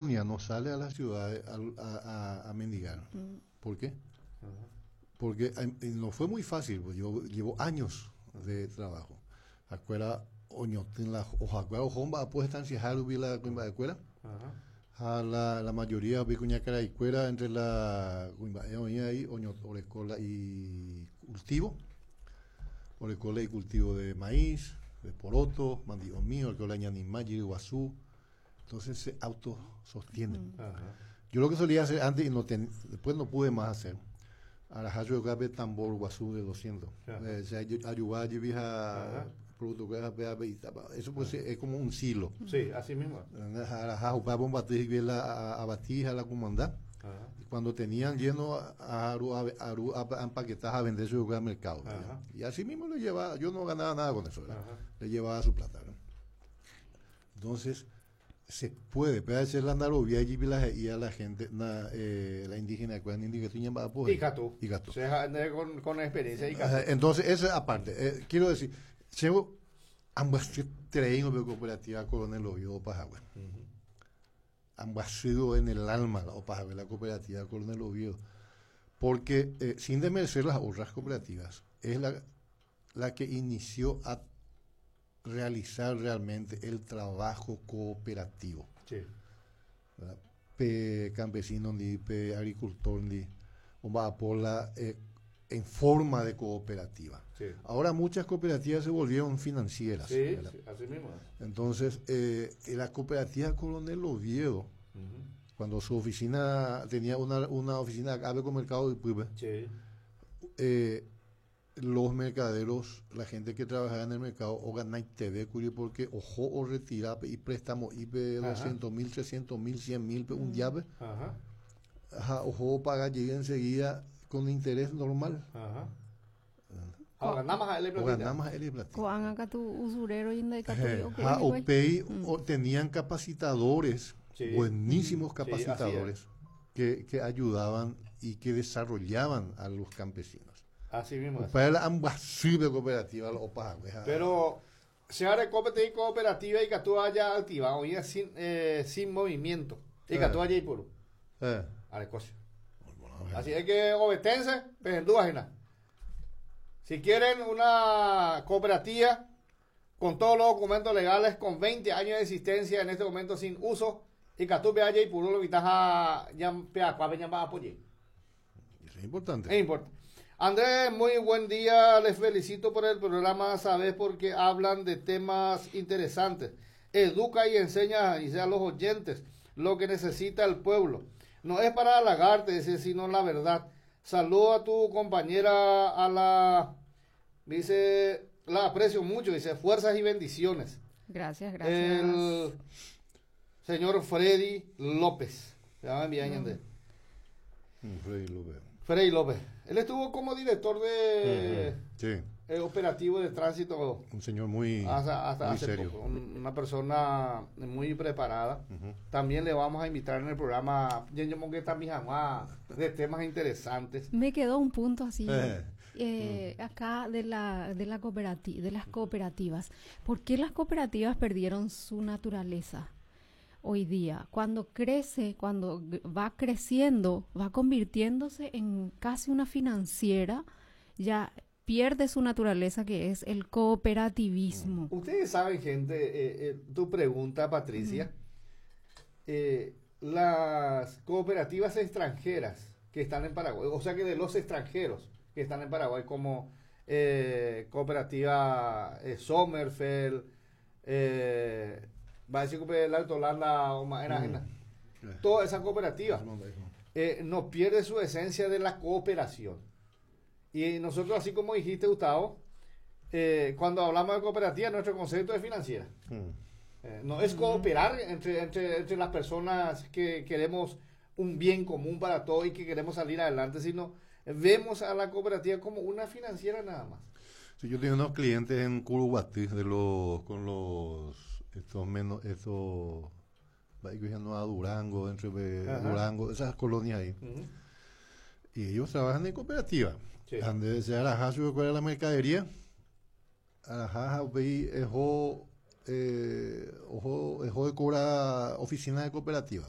No sale a las ciudades a mendigar. ¿Por qué? Porque no fue muy fácil, pues yo llevo años de trabajo. Acuera oñotỹ la ohakuéra oho mba'apo estanciaha rupi la kuimba'ekuéra. Ha la, la mayoría upe kuñakaraikuéra entre la kuimba'e oĩ ahí oño oreko la icultivo, oreko la icultivo de maíz, de poroto, mandi'omi, oreko la ñanima, jyryguasu, entonces se autosostienen. Yo lo que solía hacer antes y no ten, después no pude más hacer, araha chupe pe tambor guasu de 200. O sea, ayuda jepi ha producto kuéra eso pues es como un silo. Sí, así mismo. Araha upe bombaty hikuái la avati ha la kumandá. Y cuando tenían lleno aru aru a empaquetar a vender su al mercado. Y así mismo le llevaba, yo no ganaba nada con eso, le llevaba su plata. Entonces, se puede, pero hacer la narovia y la y a la gente, na, la indígena, ¿cuál indígena? Ikatu. Ikatu. Con experiencia ikatu. Entonces, eso es aparte. Quiero decir, llevo ambas treingo de cooperativa Coronel Oviedo Pajagüe. Ambas sido en el alma la Opajagüe, la cooperativa Coronel Oviedo. Porque, sin desmerecer las otras cooperativas, es la que inició a realizar realmente el trabajo cooperativo. ¿Verdad? Pe campesino ni pe agricultor ni omba'apo en forma de cooperativa. Ahora muchas cooperativas se volvieron financieras, ¿verdad? Sí, así mismo. Entonces, la cooperativa Coronel Oviedo, cuando su oficina tenía una oficina acá con Mercado de Puebla, los mercaderos, la gente que trabajaba en el mercado, o ganáis TV, curio, porque ojo o retira y préstamo IP 200.000, 300.000, 100.000, un llave. Ajá, ojo paga, llega enseguida con interés normal. O ganamos a él O ganamos a él platita. Ko'ág̃a katu usurero y Ja, upéi tenían capacitadores, buenísimos capacitadores, que ayudaban y que desarrollaban a los campesinos. Así mismo. Para la ambas cooperativa, los opa, Pero se abre cooperativa y que tú haya activado y sin movimiento. Y que tú haya y por. Arecosia. Así es que obetense, pero Si quieren una cooperativa con todos los documentos legales, con 20 años de existencia en este momento sin uso, y que tú veas y por lo ya apoyar. Eso es importante. Es importante. Andrés, muy buen día, les felicito por el programa, sabes, porque hablan de temas interesantes. Educa y enseña, dice, a los oyentes lo que necesita el pueblo. No es para halagarte, dice, sino la verdad. Saludo a tu compañera, a la, dice, la aprecio mucho, dice, fuerzas y bendiciones. Gracias, gracias. El señor Freddy López. Ya me envía, Freddy López. Freddy López. Él estuvo como director de operativo de tránsito. Un señor muy, hasta muy hace serio. poco. Una persona muy preparada. También le vamos a invitar en el programa de temas interesantes. Me quedó un punto así. Acá de las cooperativas. ¿Por qué las cooperativas perdieron su naturaleza hoy día? Cuando crece, cuando va creciendo, va convirtiéndose en casi una financiera, ya pierde su naturaleza, que es el cooperativismo. Ustedes saben, gente, tu pregunta, Patricia, las cooperativas extranjeras que están en Paraguay, o sea que de los extranjeros que están en Paraguay, como cooperativa Sommerfeld, va a decir que el Alto Holanda o más, era, toda esa cooperativa no pierde su esencia de la cooperación. Y nosotros, así como dijiste, Gustavo, cuando hablamos de cooperativa, nuestro concepto es financiera. No es cooperar entre las personas que queremos un bien común para todos y que queremos salir adelante, sino vemos a la cooperativa como una financiera nada más. Sí, yo tengo unos clientes en Curuguaty de los, con los, estos menos, estos, a Durango, entre Durango, esas colonias ahí. Y ellos trabajan en cooperativa. Donde se araja su cuál es la mercadería, araja ojo, ojo, ojo de cobra oficina de cooperativa.